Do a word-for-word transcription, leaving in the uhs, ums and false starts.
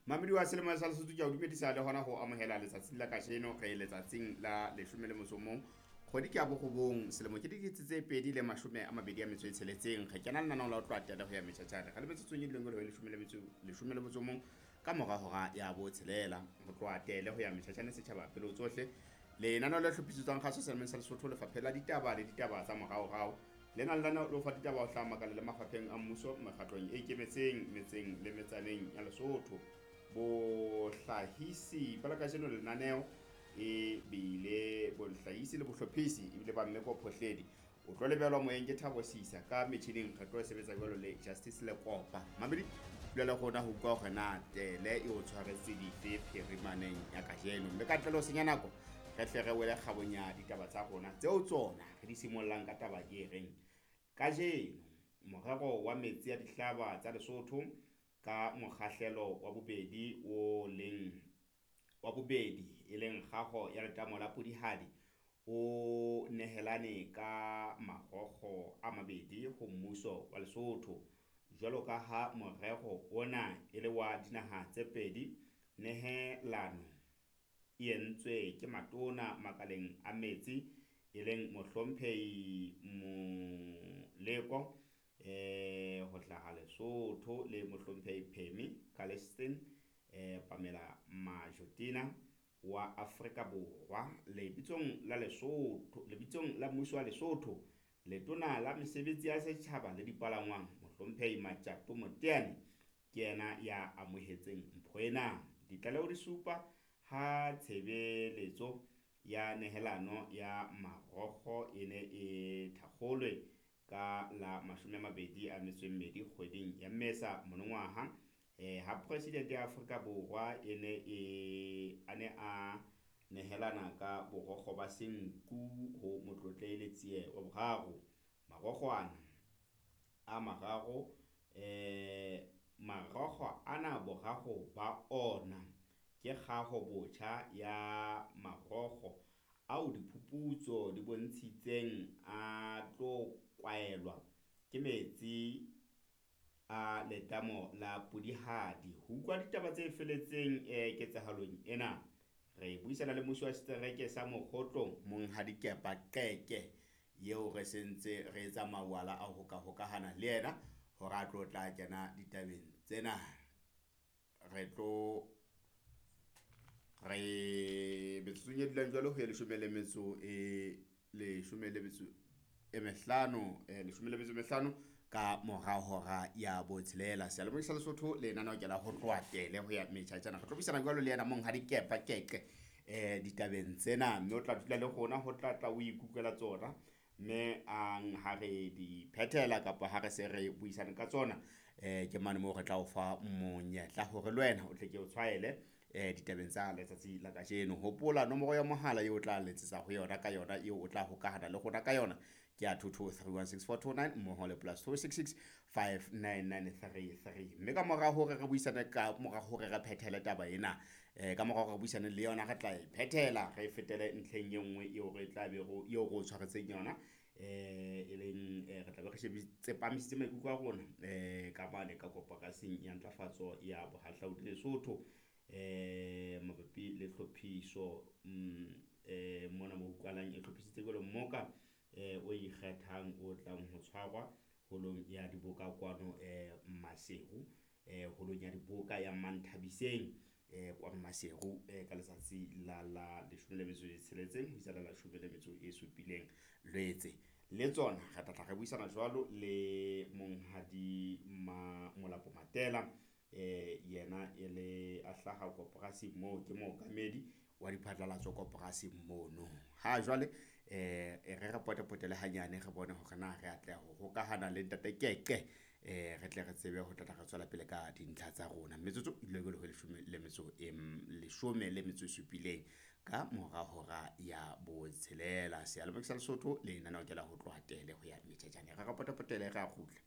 Mamedi wa selemo sa Lesotho, ke a o dumedisa le hona ho amohela letsatsing la kajeno. Re letsatsing la leshome le motso o mong, kgwedi ke ya borobong, selemo ke dikete tse pedi le mashome a mabedi a metso e tsheletseng. Re kena lenaneong la ho tloha tele ho ya metjhatjhane re le metsotsong e dileng le leshome le metso leshome le motso o mong ka mora hora ya botshelela. Ho tloha tele ho ya metjhatjhane setjhaba pele ho tsohle, lenaneo le hlophisetswang kgaso selemeng sa Lesotho, Lefapheng la Ditaba le Ditaba tsa Moraorao. Lena lenaneo le ho fa ditaba ho hlaha makaleng le mafapheng a mmuso, mekgatlong e ikemetseng, metseng le metsaneng ya Lesotho. Bohlahisi ba la kajeno lenaneo e bile bohlahisi le bohlophisi ebile ba Mmeko Phohledi. O tlo lebelwa moyeng ke Thabo Sisa, ka metjhining re tlo sebetsa jwalo le Justice Lekopa. Mamedi, dula le rona ho utlwa hore na tele e o tshwaretse dife phirimaneng ya kajeno. Mme ka ntle le ho senya nako, re tle re wele kgabong ya ditaba tsa rona tseo tsona re di simollang ka taba e reng kajeno morero wa metsi a dihlaba tsa Lesotho ka mokgahlelo wa bobedi o leng wa bobedi e leng kgaho ya letamo la Polihali o nehelane ka marokgo a mabedi ho mmuso wa Lesotho. Jwalo ka ha morero ona e le wa dinaha tse pedi, nehelano e entswe ke matona makaleng a metsi e leng Mohlomphehi Moleko eh ho hlaha Lesotho le Mohlomphehi Pemmy Caliston eh Pamela Majotina wa Afrika Borwa. Lebitsong la Lesotho, lebitsong la mmuso wa Lesotho, letona la mesebetsi ya setjhaba le dipalangwang Mohlomphehi Matjato Moteane ke yena ya amohetseng mpho ena. Ditlaleho di supa ha tshebeletso ya nehelano ya marokgo e ne e thakgolwe ka la mashome a mabedi a metso e mmedi kgweding ya Mmesa monongwaha, eh ha president ya Afrika Borwa e ne e a ne a nehelana ka borokgo ba senku ho Motlotlehi Letsie wa boraro. Marokgo ana a mararo eh marokgo ana boraro ba ona ke kgaho botjha ya marokgo ao diphuputso di bontshitseng a tlo kwaelwa ke metsi a letamo la Polihali. Ho utlwa ditaba tse felletseng eh ketsahalong ena, re buisana le mmusi wa setereke sa Mokgotlong, Monghadi Kepa Qeke, eo re sentse re etsa mawala a ho ka hokahana le yena hore a tlo tla kena ditabeng tsena. Re tlo re metsotsong e dulang jwalo ho ya leshome le metso e leshome le metso e mehlano, eh leshome le metso e mehlano ka mora hora ya botshelela. Seyalemoya sa Lesotho lenaneo ke la ho tloha tele ho ya metjhatjana. Re tlo buisana jwalo le yena Monghadi Kepa Qeke eh ditabeng tsena, mme o tla dula le rona ho tla tla o ikutlwela tsona. Mme ang ha re di phethela kapa ha re se re buisane ka tsona, eh ke mane moo re tla o fa monyetla hore le wena o tle ke o tshwaele eh ditabeng tsa letsatsi la kajeno. Hopola nomoro ya mohala eo o tla letsetsa ho yona ka yona, eo o tla hokahana le rona ka yona ke ya two two three one six four two nine mmoho le plus two six six five nine nine three three. Mme ka mora hore re buisane ka mora hore re phethele taba ena, eh ka mora hore re buisane le yona, re tla e phethela re fetele ntlheng e nngwe eo re tla be ro eo re o tshwaretseng yona, eh e leng re tla be re tsepamisitse maikutlo a rona eh ka mane ka koporasing ya ntlafatso ya bohahlaudi Lesotho, eh mabapi le tlhophiso mm eh mona mo utlwalang e hlophisitse jwalo mmoka eh o ikgethang o tlang ho tshwarwa holong ya diboka kwano eh Maseru, eh holong ya diboka ya Manthabiseng eh kwano Maseru eh ka letsatsi la la leshome le metso e tsheletseng ho isa la leshome le metso e supileng Lwetse. Le tsona re tla tla re buisana jwalo le Monghadi Ma Molapo Matela, eh yena e le a hlaha koporasing moo, ke mookamedi wa diphatlalatso koporasing mono. Ha jwale eh re re potepotele hanyane re bone hore na re atleha ho hokahana le ntate Qeqe, eh re tle re tsebe ho tla tla re tswela pele ka dintlha tsa rona. Metsotso e dula jwalo ho leshome le metso e leshome le metso e supileng ka mora hora ya botshelela. Seyalemoya sa Lesotho lenaneo ke la ho tloha tele ho ya metjhatjane. Re re potepotele re a kgutla.